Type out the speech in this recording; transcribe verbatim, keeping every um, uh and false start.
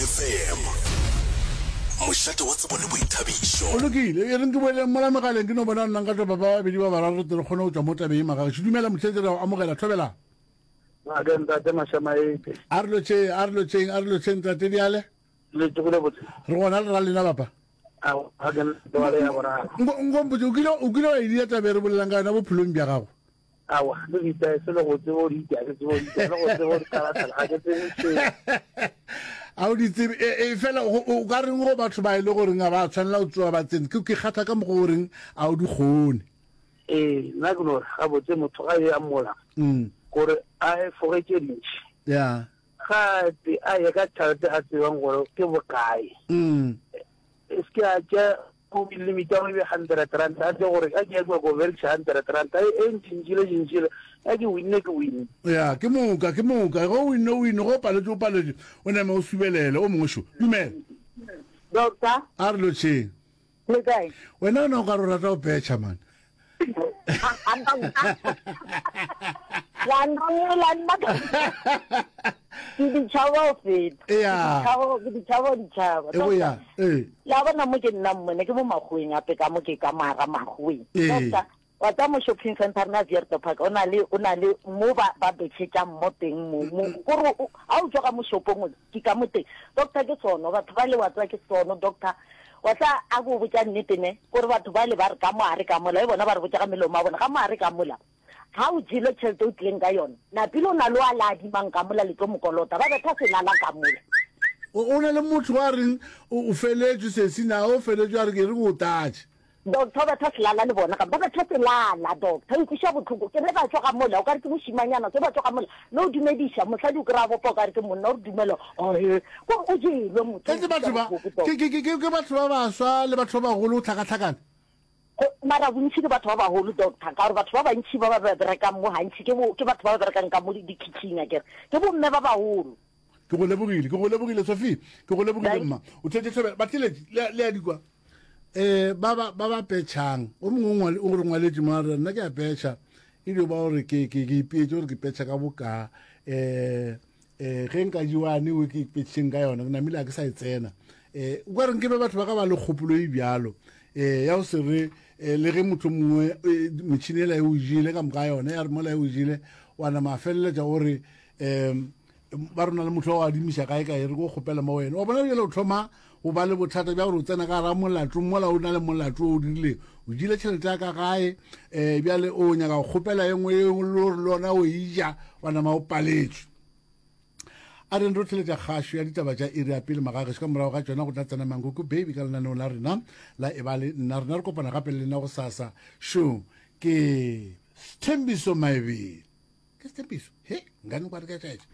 F M, mošate wa tsebo le boithabišo. O lokile, e reng ke boeleng mola megaleng, ke no bona nna nka tlopa ba babedi ba bararo tle re kgone go tšwa mo tabeng ye. Magagešo, dumela motheetši, re a go amogela, thobela. Ake ntate Mašamaite. A re lotšheng, a re lotšheng, a re lotšheng tate diale. Le tsogile botse? Re gona, le ra lena bapa. A ga ke nna ya boraro. Nkompotse, o kile o kile wa e dia taba e re bolelang ka yona bophelong bja gago? Awa, le ditae se le go tseba o di ita, ke tseba o di ita, le go tseba o di talatala, ga ke tsebe seo. A o di tsebe e, e fela o o ka reng go batho ba e le goreng ga ba tshwanela go tsoa ba tsene, ke ke kgatha ka mokgwa o reng a o di kgone. Ee, nna ke no re gabotse motho ga e amola Mm. gore a efoge tše dintši. Ya. Gape a ye ka tšhelete a tsebang gore ke bokae. Mm. E se ke a tšea go limit ya gore e be hundred rand, a tsebe gore a ke ya kua ko berekiša hundred rand, e ntšintšile tšintšile, a ke winne ke winne. Ya, ke moka, ke moka. Ge o winne, o winne, ge o paletše, o paletše, o name o subelele. O mongwe šo. Dumela. Doctor. A re lotšheng. Le kae? Wena o na o ka re o rata go petšha man. La nrola nna ke ditšhaba o feta. Ya. Ke ditšhaba o ditšhaba. E go ya. Ee. La bona mo ke nna mmone ke mo makgoweng ape ka mo ke ka mara makgoweng. Ee. Doctor, wa tsa mo shopping center na Vierto Park o na le o na le mo ba ba betšhetšang mo teng mo mo gore ha o tswa ka mo shopong ke ka mo teng. Doctor, ke sono batho ba le wa tswa ke sono, doctor. Wa tla a go botša nnete ne gore batho ba le ba re ka mo a re ka mola e bona ba re botša ka melomo a bona ka mo a re ka mola. Ga o jele tšhelete o tlileng ka yona, napile o na le wa la adimang ka mola le tlo mokolota, ba betha selala ka mola. O o na le motho wa reng o feletšwe sesi na o feletšwe a re ke re go tatše. Doctor, ba betha selala le bona, ba betha selala, doctor, e kweša bohloko. Ke re ba tswa ka mola, o ka re ke mošimanyana, ke ba tswa ka mola, le o dumediša, mosadi o kry-a bopa o ka re ke monna, o re dumela, ae, kore o jelwe motho. Etse batho ba, ke ke ke ke batho ba baswa le batho ba bagolo go tlhakatlhakana. Mara bontši ke batho ba bagolo, doctor, ka gore batho ba bantši ba ba berekang mo gantši ke ke batho ba ba berekang ka mo di-kitchen akere, ke bomme ba bagolo. Ke go lebogile, ke go lebogile Sophie, ke go lebogile mma. O thetše tlhobela, batheletši le a di kwa. Eh ba ba ba ba petšhang, o mongwe o re ngwaletše mo a re nna ke a petšha, e dio ba gore ke ke ke ipeetše gore ke petšha ka boka, eh eh ge nka jewane o ke petšheng ka yona, ke namile a ke sa e tsena. Eh o ka reng ke be batho ba ka ba le kgopolo e bjalo, eh ya go se re le ge motho mongwe metšhini ela e o jele ka moka yona, ya re mola e o jele wa nama feleletša o re um ba rona le motho wa adimiša kae kae re ko kgopela mo wena, wa bona bjale o thoma go ba le bothata bja gore o tsena ka gara molato mola o na le molato o dirileng, o jile tšhelete ya ka gae, um bjale o nyaka go kgopela e nngwe e le gore le yona o e ja wa nama o paletšwe. A re re theletša kgašo ya ditaba tša iri ya pele magagešo, ka morago ga tšona go tla tsena Mankoko Baby ka lenaneo la rena la e ba le nna. Rena re kopana gape le lena go sasa. Šo ke Sethembiso Maebele, ke Sethembiso he nkane kwa re ka tšaetša.